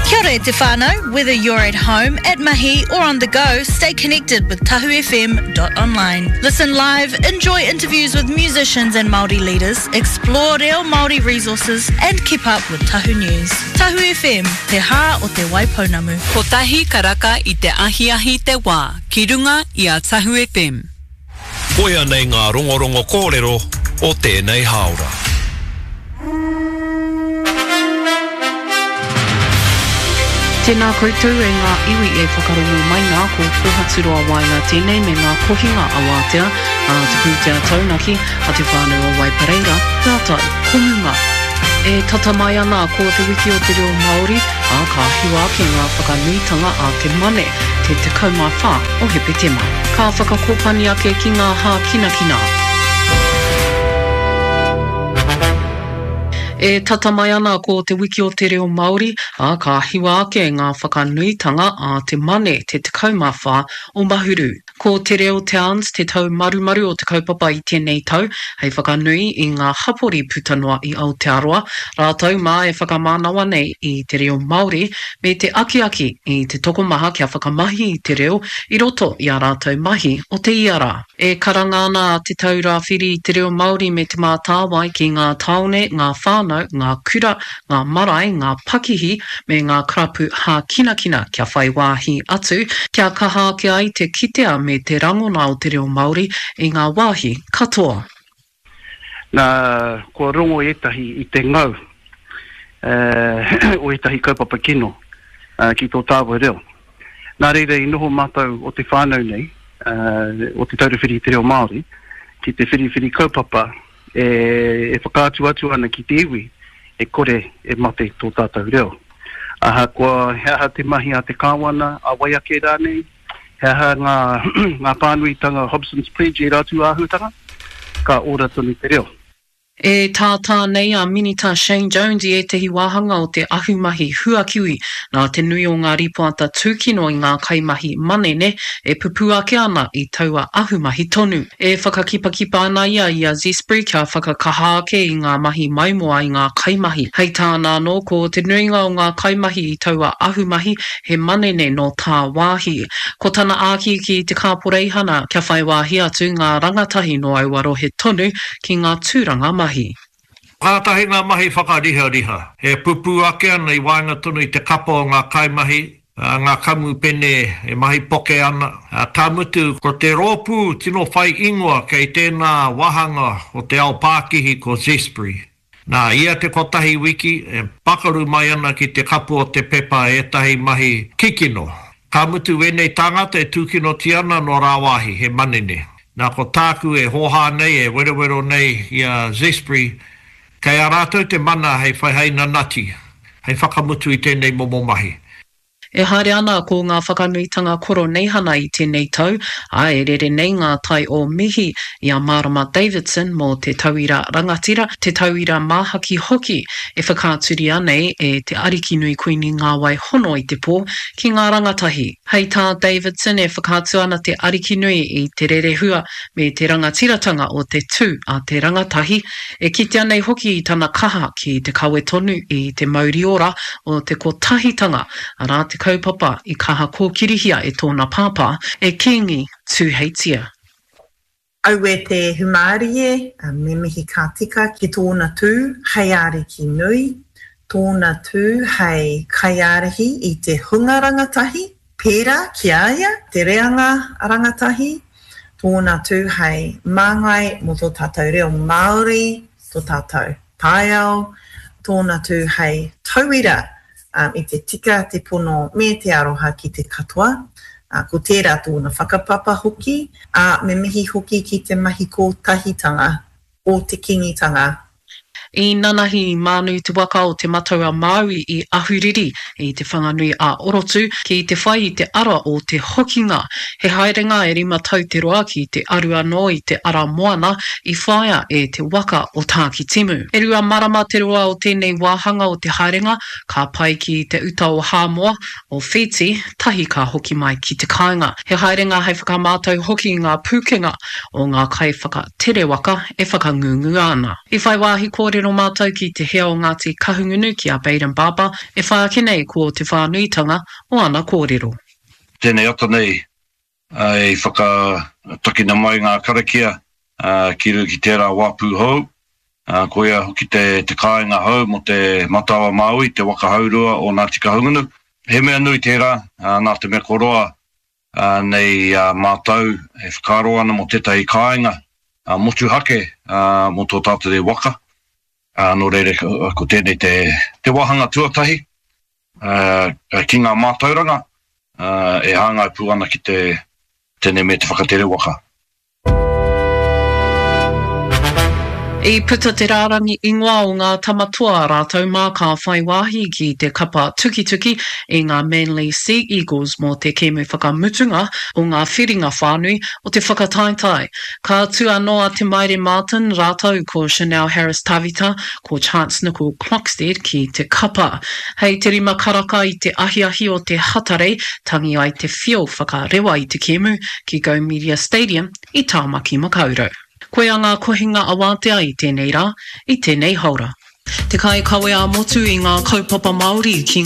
Kia ora e te whānau, whether you're at home, at mahi or on the go, stay connected with tahufm.online. Listen live, enjoy interviews with musicians and Māori leaders, explore reo Māori resources and keep up with Tahu News. Tahu FM, te hā o te Waipounamu. Kotahi karaka i te ahiahi te wā ki runga i a Tahu FM. Koia nei ngā rongorongo kōrero o tēnei hāora. Tēnā koutou e ngā iwi e whakarongo mai nā, ko Kōhaturoa Waenga tēnei me ngā kohinga awatea a te pūtea taunaki a te whānau o Waipareira, rātou ko Muma. E tata mai ana ko te wiki o te reo Māori, ā, ka hiwa ake ngā whakanuitanga a te Mane, te 14 o Hepetema. Ka whakakōpani ake ki ngā hākinakina. E tata mai ana ko te wiki o te reo Māori, ā, ka hiwa ake ngā whakanuitanga a te Mane, te 14 o Mahuru. Ko Te Reo Towns te taumarumaru o te kaupapa i tēnei tau, hei whakanui i ngā hapori puta noa i Aotearoa, rātou mā e whakamānawa nei i te reo Māori me te akiaki i te tokomaha kia whakamahi i te reo i roto i ā rātou mahi o te ia rā. E karanga ana a Te Taura Whiri i te Reo Māori me Te Mātāwai ki ngā tāone, ngā whānau, ngā kura, ngā marae, ngā pakihi me ngā karapu hākinakina kia whai wāhi atu, kia kaha ake ai te kitea me te rangona o te reo Māori i ngā wāhi katoa. Nā, kua rongo ētahi i te ngau o ētahi kaupapa kino ki tō tāua reo. Nā reira i noho mātou o te whānau nei, o Te Taura Whiri i te Reo Māori, ki te whiriwhiri kaupapa e whakaatu atu ana ki te iwi e kore e mate tō tātou reo. Ahakoa he aha te mahi a te Kāwana, a wai ake rānei, he aha ngā, ngā pānuitanga Hobson's Pledge ērā atu āhuatanga, ka ora tonu te reo. E tātā nei a Minita Shane Jones i ētehi wāhanga o te ahumahi huakiwi nā te nui o ngā rīpoata tūkino i ngā kaimahi manene e pupū ake ana i taua ahumahi tonu. E whakakipakipa ana ia i a Zespri kia whakakaha ake i ngā mahi maimoa i ngā kaimahi. Hei tāna anō, ko te nuinga o ngā kaimahi i taua ahumahi he manene nō tāwāhi. Ko tana āki ki te kāporeihana kia whai wāhi atu ngā rangatahi nō aua rohe tonu ki ngā tūranga mahi. Kātahi ngā mahi whakarihariha e pupū ake ana i waenga tonu i te kapa o ngā kaimahi ngā kamupene e mahi poke ana, ka mutu, ko te rōpū tino whai ingoa kei tēnā wāhanga o te ao pākihi ko Zespri. Nā, ia te kotahi wiki, e pakaru mai ana ki te kapu o te pepa ētahi mahi kikino. Ka mutu wēnei tāngata e tūkinotia ana nō rāwāhi, he manene. Nā, ko tāku e hōhā nei, e werowero nei i a Zespri, Kei a rātou te mana hei whai hei nanati, hei whakamutu i tēnei momo mahi. E haere ana ko ngā whakanuitanga Koroneihana i tēnei tau, ā, e rere nei ngā tai o mihi i a Marama Davidson mō te tauira rangatira, te tauira māhaki hoki e whakaaturia nei e te Arikinui Kuini Ngāwai Hono i te Pō ki ngā rangatahi. Hei tā Davidson e whakaatu ana te Arikinui i te rerehua me te rangatiratanga o te tū a te rangatahi, e kitea nei hoki i tana kaha ki te kawe tonu i te mauri ora o te kotahitanga, arā te kaupapa i kaha kōkirihia e tōna pāpā, e Kīngi Tūheitia. Aue te humārie, me mihi ka tika ki tōna tū hei ariki nui, tōna tū hei kaiārahi i te hunga rangatahi, Pērā ki a ia, te reanga rangatahi, tōna tū hei māngai mō tō tātou reo Māori, tō tātou taiao, tōna tū hei tauira i te tika, te pono me te aroha ki te katoa. Ko tērā tōna whakapapa hoki, ā, me mihi hoki ki te mahi kōtahitanga o te Kīngitanga. I nanahi i mānu te waka o Te Matau-a-Māui i Ahuriri, i Te Whanganui a Orotu, ki te whai i te ara o te hokinga. He haerenga e rima tau te roa ki te aru anō i te ara moana i whāia e te waka o Tākitimu. E rua marama te roa o tēnei wāhanga o te haerenga, ka pae ki te uta o Hāmoa, o Whītī, tahi ka hoki mai ki te kāinga. He haerenga hei whakamātau hoki i ngā pūkenga o ngā kaiwhakatere waka e whakangungua ana. I whai wāhi kōrero. kōrero mātou ki te hea o Ngāti Kahungunu ki a Bayden Barber, e whai ake nei ko te whānuitanga o ana kōrero. Tēnei ata nei i whakatakina mai ngā karakia ki runga ki tērā wāpu hou, koia hoki te kāinga hou mō te Matau-a-Māui, te waka haurua o Ngāti Kahungunu. He mea nui tērā, nā te mea kua roa nei a mātou e whakaaro ana mō tētahi kāinga motuhake mō tō tātou nei waka. Nō reira, ko tēnei te wāhanga tuatahi ki ngā mātauranga e hāngai pū ana ki te tēnei me te whakatere waka. I puta te rārangi ingoa o ngā tama toa rātou mā ka whai wāhi ki te kapa tukituki i ngā Manly Sea Eagles mō te kēmu whakamutunga o ngā whiringa whānui o te whakataetae. Ka tū anō a Te Maire Martin rātou ko Chanel Harris-Tavita, ko Chance Nicol Klokstad ki te kapa. Hei te rima karaka i te ahiahi o te Hatarei, tangi ai te whio whakarewa i te kēmu ki Go Media Stadium i Tāmaki Makaurau. Koia ngā kohinga awātea i tēnei rā, i tēnei haora. Te kaikawe ā-motu i ngā kaupapa Māori ki ngā.